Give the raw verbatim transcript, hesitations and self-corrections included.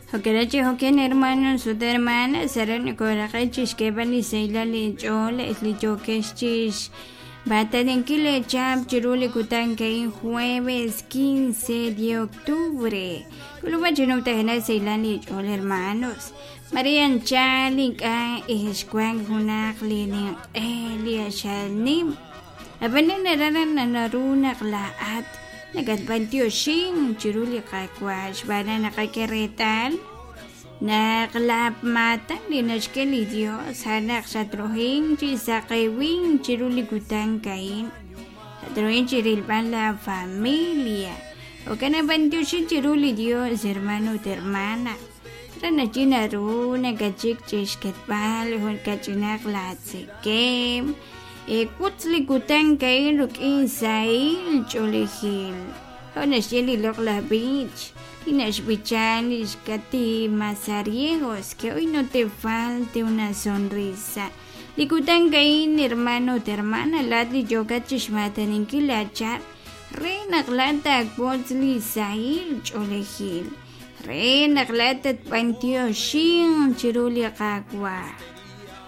Jo'kan jo'kan hermanos ut hermanas aran nokooraqe' chixk'eeb'al li sahilal inch'ool li yookex chix bataninkil leechap chiru li kutan a'in jueves quince de octubre k'ulub'a chi numtajenaq sahilal inch'ool hermanos Maria anchal ink'a' ixwank junaq li ninq'e li axalnim ab'anan aran naru naq laa'at nakatb'antioxin chiru li Qaawa' xb'aan naq naqak'e reetal naq la maatan li naxk'e li Dios a'an naq xatrohin chi saqewin chiru li kutan a'in xatrohin chi rilb'al la familia jo'kan nab'antioxin chiru li Dios hermano ut hermana re nachi naru nakachik chixketb'al jun kach'inaq la tzekem wutz li kutan a'in rik'in sahil ch'oolejil jo' naxye li loq'laj b'ich li naxb'ichan li xKaty Mazariegos que hoy no te falte una sonrisa li kutan a'in hermano ut hermana laat li yookat chixmataninkil laachap re naq laat taawotz li sahil ch'oolejil re naq laat tatb'antioxin chiru li Qaawa'.